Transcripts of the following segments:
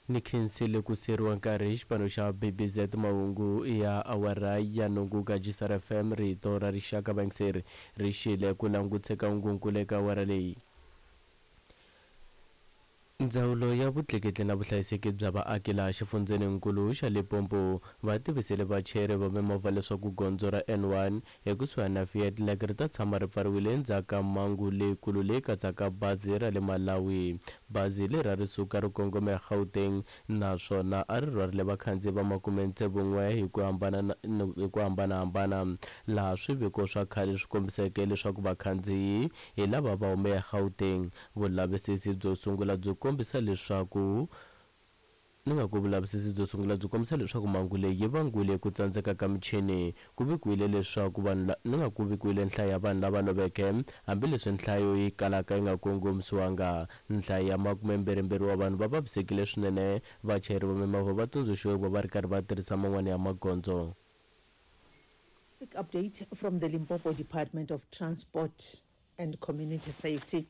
Ni khensile ku siyeriwa nkarhi hi xipano xa BBZ mahungu ya awara ya nhungu ka Gisar FM rito ra rixaka vayingiseri ri xile ku langutse ka hungunkulu eka awara leyi. Ndzawulo ya vutleketli na vuhlayiseki bya vaaki laha xifundzheninkulu xa Limpopo va tivisile vachayeri va mimovha leswaku gondzo ra N1 ekusuhani na Fiat ri ta tshama ri pfariwile endzhaku ka mhangu leyikulu leyi katsaka bazi ra le Malawi. Bazi leri a ri suka ri kongome eGauteng naswona a ri rhwarile vakhandziyi va makumetsevu-n'we hi ku hambana hi ku hambanahambana, laha swiviko swa khale swi kombiseke leswaku vakhandziyi hi lava va hume eGauteng. Vulavisisi byo sungula byi kombisa leswaku ni nga ku vulavisisi byo sungula byi kombisa leswaku mhangu leyi yi vangiwile hi ku tsandzeka ka michini. Ku vikiwile leswaku vanhu ni nga ku vikiwile nhlayo ya vanhu lava loveke, hambileswi nhlayo yi kalaka yi nga kongomisiwanga. Nhlayo ya makumembirhimbirhi wa vanhu va vavisekile swinene. Vachayeri va mimovha va tsundzuxiwe ku va va ri karhi va tirhisa man'wana ya magondzo. Quick update from the Limpopo Department of Transport and Community Safety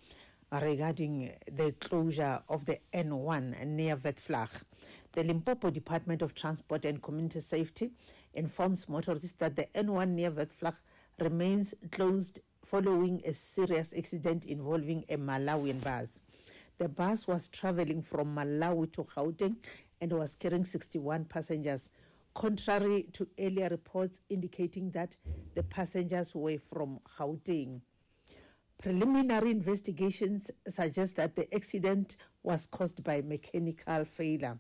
regarding the closure of the N1 near Vetvlag. The Limpopo Department of Transport and Community Safety informs motorists that the N1 near Vetvlag remains closed following a serious accident involving a Malawian bus. The bus was traveling from Malawi to Gauteng and was carrying 61 passengers, contrary to earlier reports indicating that the passengers were from Gauteng. Preliminary investigations suggest that the accident was caused by mechanical failure.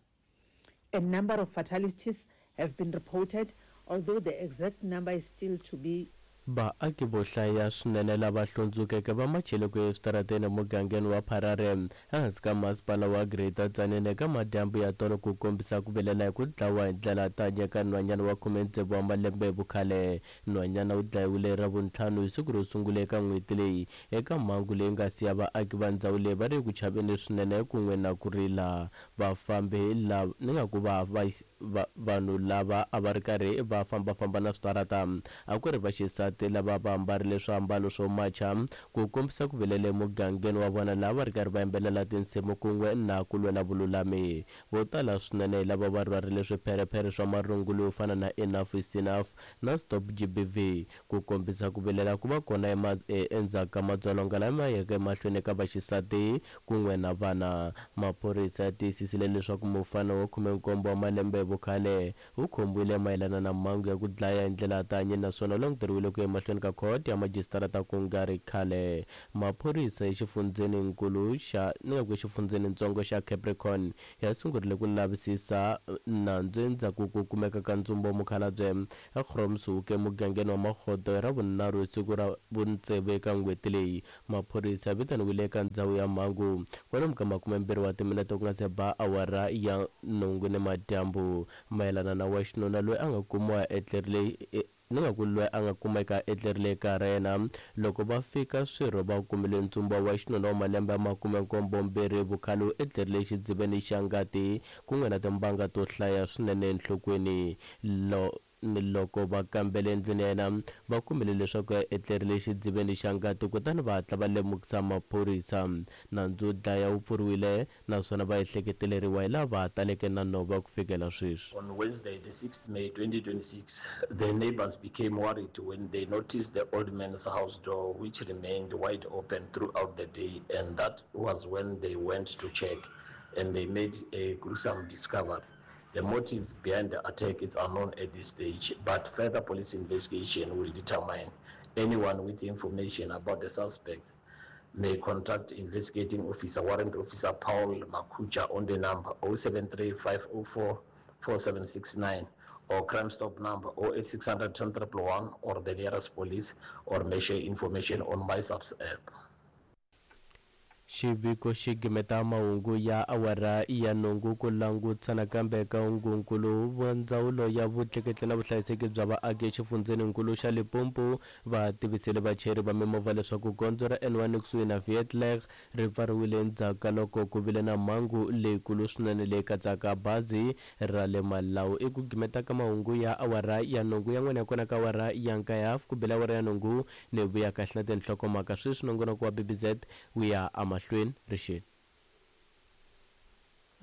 A number of fatalities have been reported, although the exact number is still to be Vaaki vo hlaya swinene lava hlundzukeke va machele ku ya eswitarateni emugangeni wa Pharare ehansi ka masipala wa Greater Tzaneen eka madyambu ya tolo ku kombisa ku vilela hi ku dlawa hi ndlela tanya ka nhwanyana wa 16 wa malembe hi vukhale. Nhwanyana u dlayiwile hi Ravuntlhanu hi siku ro sungula eka n'hweti leyi eka mhangu leyi nga siya vaaki va ndzhawu leyi va ri eku chaveni swinene kun'we na ku rila. Vafambi lava ni nga ku va va vanhu lava a va ri karhi va famba-famba na switarata a ku ri vaxisati lava va ambarile swiambalo swo macha ku kombisa ku vilela emugangeni wa vona laha va ri karhi va yimbelela tinsimu kun'we na ku lwela vululami. Vo tala swinene hi lava va rhwarile swipherephere swa marungula yo fana na Enough is Enough na Stop GBV ku kombisa ku vilela ku va kona endzhaku ka madzolonga lama yeke emahlweni eka vaxisati kun'we na vana. Maphorisa ya tiyisisile leswaku mufana wa 17 wa malembe hi vukhale u khomiwile mayelana na mhangu ya ku dlaya hi ndlela ya tihanyi naswona u languteriwile ku ya emahlweni ka khoto ya majisitarata ku nga ri khale. Maphorisa exifundzheninkulu xa ni nga ku exifundzhenintsongo xa Capricorn ya sungurile ku lavisisa nandzu endzhaku ko kumeka ka ntsumbu wa mukhalabye eGroomshoek emugangeni wa Makgoto hi Ravunharhu hi siku ra vutsevu eka n'hweti leyi. Maphorisa ya vitaniwile eka ndzhawu ya mhangu kwalomu ka makumembirhi wa timinete ku nga se ba awara ya nhungu nimadyambu. Mayelana na wa xinuna loyi a nga kumiwa a etlerile ni nga ku loyi a nga kumeka a etlerile ekaya ra yena loko va fika swirho va kumile ntsumbu wa xinuna wa malembe ya makumenkombo-mbirhi vukhale wu etlerile exidziveni xa ngati kun'we na timbanga to hlaya swinene enhlokweni. Lo ni loko va kambele endlwini ya yena va kumile leswaku a etlerile exidziveni xa ngati kutani va hatla va lemukisa maphorisa. Nandzu wo dlaya wu pfuriwile naswona va ehleketeleriwa hi lava taleke na nhova ku fikela sweswi. On Wednesday, the 6th May 2026, the neighbors became worried when they noticed the old man's house door, which remained wide open throughout the day, and that was when they went to check and they made a gruesome discovery. The motive behind the attack is unknown at this stage, but further police investigation will determine. Anyone with information about the suspects may contact investigating officer, Warrant Officer Paul Makucha, on the number 073 504 4769 or Crime Stop number 08600 10 111 or the nearest police, or may share information on MySAPS app. Xiviko xi gimeta mahungu ya awara ya nhungu ku langutisa nakambe eka hungunkulu wa Ndzawulo ya Vutleketli na Vuhlayiseki bya Vaaki exifundzheninkulu xa Limpopo va tivisile vachayeri va mimovha leswaku gondzo ra N1 ekusuhi na Vietlech ri pfariwile endzhaku ka loko ku vile na mhangu leyikulu swinene leyi katsaka bazi ra le Malawi. I ku gimeta ka mahungu ya awara ya nhungu yan'wana ya kona ka awara ya nkaye hafu ku bile awara ya nhungu ni vuya kahle na tinhlokomhaka sweswi nongonoko wa BBZ wu ya emahlweni rixeni.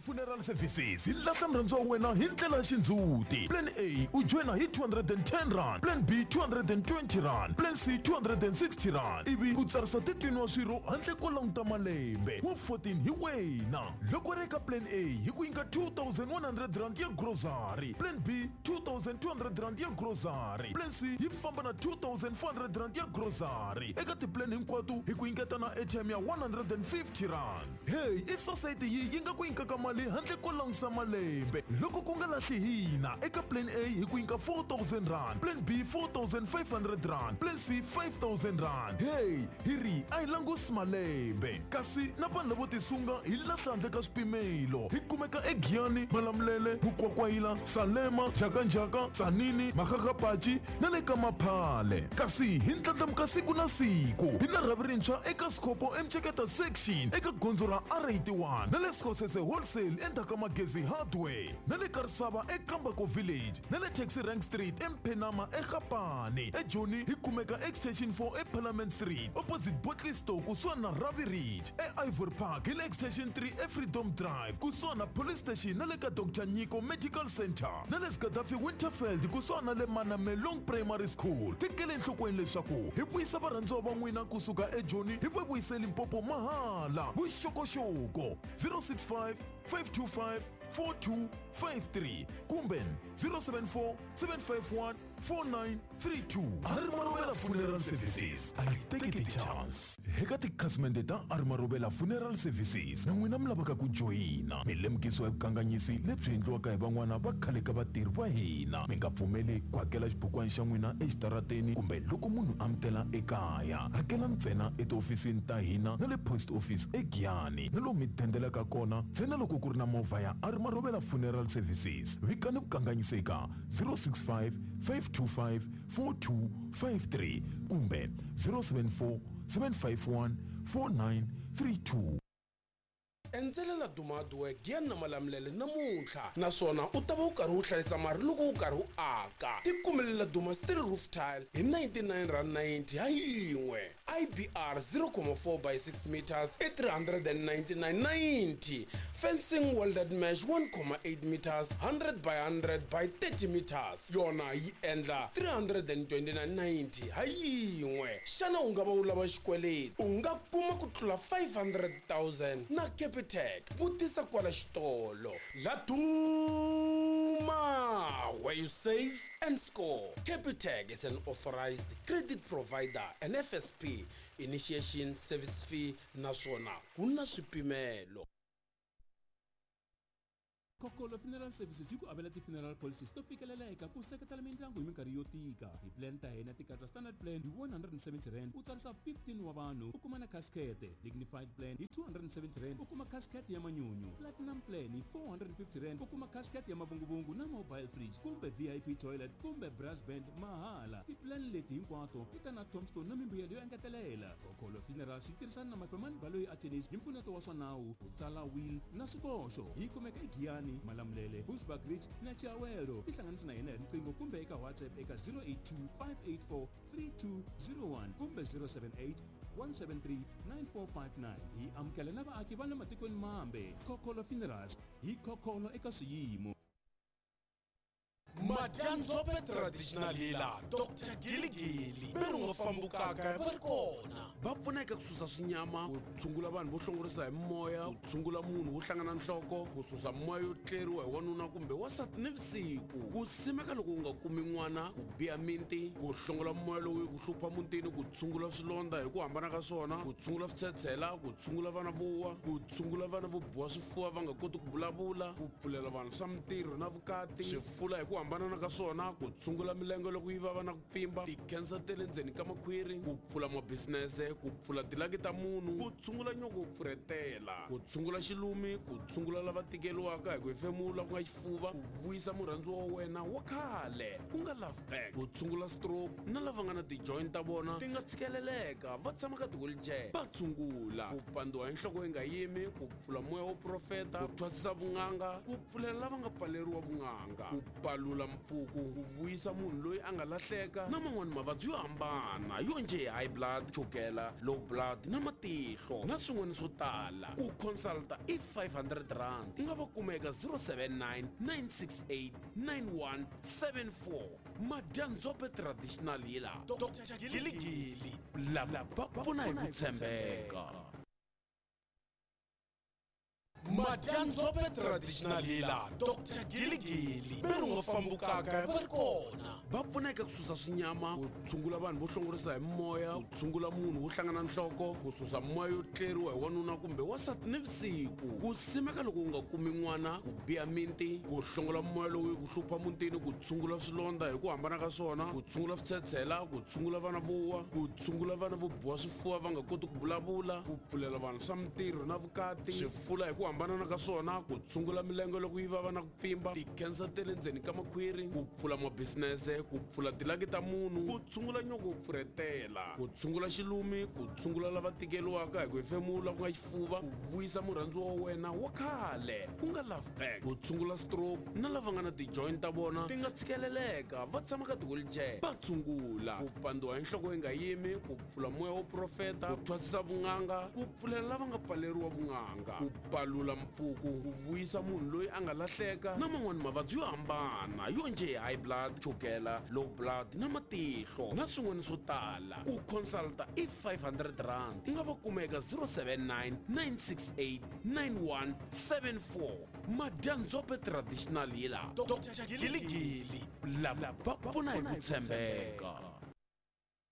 Funeral Services hi lahla murhandziwa wa wena hi ndlela ya xindzhuti. Plan A u joyina hi 210 rand, Plan B 220 rand, Plan C 260 rand, ivi u tsarisa 13 wa swirho handle ko languta malembe. Wa 14 hi wena. Loko ri eka Plan A hi ku nyika 2100 rand ya grocery, Plan B 2200 rand ya grocery, Plan C yi famba na 2400 rand ya grocery. Eka tiplan hinkwato hi ku nyiketa na airtime ya 150 rand. Hey, i society yi yi nga ku nyikaka mali handle ko langusa malembe. Loko ku nga lahli hina, eka Plan A hi ku nyika 4000 rand, Plan B 4500 rand, Plan C 5000 rand. Hey, hi ri a hi langusi malembe. Kasi na vanhu lavo tisunga hi lahla handle ka swipimelo. Hi kumeka eGiyani, Malamulele, Mukwakwayila, Salema, Njhakanjhaka, Tzaneen, Makgakgapachi na le ka Maphale. Kasi hi ndlandlamuka siku na siku. Hi na rhavi rintshwa eka Skhopho eMceketa section eka gondzo ra R81 na le Sekgosese Wholesale endzhaku ka Magezi Hardware na le Karisava eKambako Village na le Taxi Rank Street eMphenama eGapane. EJoni hi kumeka Extension 4 eParliament Street opposite Bottle Store kusuhani na Ravi Ridge. E-Ivory Park hi le Extension 3 eFreedom Drive kusuhani na Police Station na le ka Dr Nyiko Medical Center na le Gaddafi Winterfeld kusuhani na le Manamelong Primary School. Tekele enhlokweni leswaku hi vuyisa varhandziwa va n'wina kusuka eJoni hi va vuyise Limpopo mahala. Vuxokoxoko 065 525 4253 kumbe 074 751 4932. Arimarovela Funeral Services, a hi teki ti-chance. Eka tikhasimende ta Arimarovela Funeral Services, na n'wina mi lavaka ku joyina, mi lemukisiwa hi vukanganyisi lebyi endliwaka hi van'wana va khale ka vatirhi va hina. Mi nga pfumeli ku hakela xibukwana xa n'wina exitarateni kumbe loko munhu a mi tela ekaya. Hakela ntsena etihofisini ta hina na le post office eGiyani na lomu mi dendelaka kona ntsena loko ku ri na movha ya Arimarovela Funeral Services. Vikani vukanganyisi eka 065 525 4253 kumbe 074 751 4932. Endzela Laduma Hardware Giyani na Malamulele namuntlha, naswona u ta va u karhi u hlayisa mali loko u karhi u aka. Tikumele Laduma Steel Roof Tile hi 99 rand 90 ha yin'we, IBR 0.4 by 6 meters i 399.90, fencing welded mesh 1.8 meters 100 by 100 by 30 meters yona yi endla 329.90 ha yin'we. Xana u nga va u lava xikweleti? U nga kuma ku tlula 500,000 na Capitec. Vutisa kwala xitolo. Laduma, where you save and score. Capitec is an authorized credit provider and FSP. Initiation service fee naswona ku na swipimelo. Kokolo Funeral Services yi ku avela ti-funeral policies to fikeleleka ku seketela mindyangu hi minkarhi yo tika. Ti-plan ta hina ti katsa standard plan hi 170 rand u tsarisa 15 wa vanhu u kuma na casket, dignified plan hi 270 rand u kuma casket ya manyunyu, platinum plan hi 450 rand u kuma casket ya mavunguvungu na mobile fridge kumbe VIP toilet kumbe brass band mahala. Ti-plan leti hinkwato ti ta na tombstone na mimbuyelo yo engetelela. Kokolo Funerals yi tirhisana na Mafemani Baloyi Attorneys hi mpfuneto wa swa nawu ku tsala will na swikoxo. Yi kumeka eGiyani, Malamulele, Bushbuckridge na Chiawelo. Tihlanganisi na hina hi riqingho kumbe eka WhatsApp eka 082 584 3201 kumbe 078 173 9459. Hi amukela na vaaki va le matikweni mambe. Kokolo Funerals, hi khokholo eka swiyimo. Madyandzhope Traditional Healer Dr Giligili ve ri nga fambukaka va ri kona, va pfuna eka ku susa swinyama, ku tshungula vanhu vo hlongorisa hi moya, ku tshungula munhu wo hlangana nhloko, ku susa moya yo tleriwa hi wanuna kumbe wansati nivusiku, ku simeka loko u nga kumi n'wana, ku biha minti, ku hlongola moya lowu yi ku hlupha mutini, ku tshungula swilondza hi ku hambana ka swona, ku tshungula switshetshela, ku tshungula vana vo wa, ku tshungula vana vo biwa swifuva va nga koti ku vulavula, ku pfulela vanhu swa mintirho na vukati, swifula hi ku hambana ka swona, ku tshungula milenge loko yi vava na ku pfimba, ti-cancer ta le ndzeni ka makhwiri, ku pfula mabisinese, ku pfula tilaki ta munhu, ku tshungula nyoko wo pfurhetela, ku tshungula xilumi, ku tshungula lava tikeriwaka hi ku hefemula ku nga xifuva, ku vuyisa murhandziwa wa wena wa khale ku nga love back, ku tshungula stroke na lava nga na ti-joint ta vona ti nga tshikeleleka va tshama ka ti-wheelchair va tshungula, ku pandziwa hi nhloko yi nga yimi, ku pfula moya wo profeta, ku thwasisa vun'anga, ku pfulela lava nga pfaleriwa vun'anga, ku palula mpfuku ku vuyisa munhu loyi a nga lahleka na man'wani mavabyi yo hambana yo njhe high blood, chukela, low blood na matihlo na swin'wana swo tala. Ku consulta i 500 rand. U nga va kuma eka 079 968 9174. Madyandzhope Traditional Healer, Dr Giligili, lava va pfuna hi ku tshembeka. Madyandzhope Traditional Healer, Dr Giligili, ve ri nga fambukaka va ri kona. Va pfuna eka ku susa swinyama, ku tshungula vanhu vo hlongorisa hi moya, ku tshungula munhu wo hlangana nhloko, ku susa moya yo tleriwa hi wanuna kumbe wansati nivusiku, ku simeka loko u nga kumi n'wana, ku biha minti, ku hlongola moya lowu yi ku hlupha mutini, ku tshungula swilondza hi ku hambana ka swona, ku tshungula switshetshela, ku tshungula vana vo wa, ku tshungula vana vo biwa swifuva va nga koti ku vulavula, ku pfulela vanhu swa mintirho na vukati, swifula hi ku hambanana ka swona, ku tshungula milenge loko yi vava na ku pfimba, ti-cancer ta le ndzeni ka makhwiri, ku pfula mabisinese, ku pfula tilaki ta munhu, ku tshungula nyoko wo pfurhetela, ku tshungula xilumi, ku tshungula lava tikeriwaka hi ku hefemula ku nga xifuva, ku vuyisa murhandziwa wa wena wa khale ku nga love back, ku tshungula stroke na lava nga na ti-joint ta vona ti nga tshikeleleka va tshama ka ti-wheelchair va tshungula, ku pandziwa hi nhloko yi nga yimi, ku pfula moya wo profeta, ku thwasisa vun'anga, ku pfulela lava nga pfaleriwa vun'anga, ku palula mpfuku, ku vuyisa munhu loyi a nga lahleka na man'wani mavabyi yo hambana yo njhe high blood, chukela, low blood na matihlo na swin'wana swo tala. Ku consulta i 500 rand. U nga va kuma eka 079 968 9174. Madyandzhope Traditional Healer, Dr Giligili, lava va pfuna hi ku tshembeka.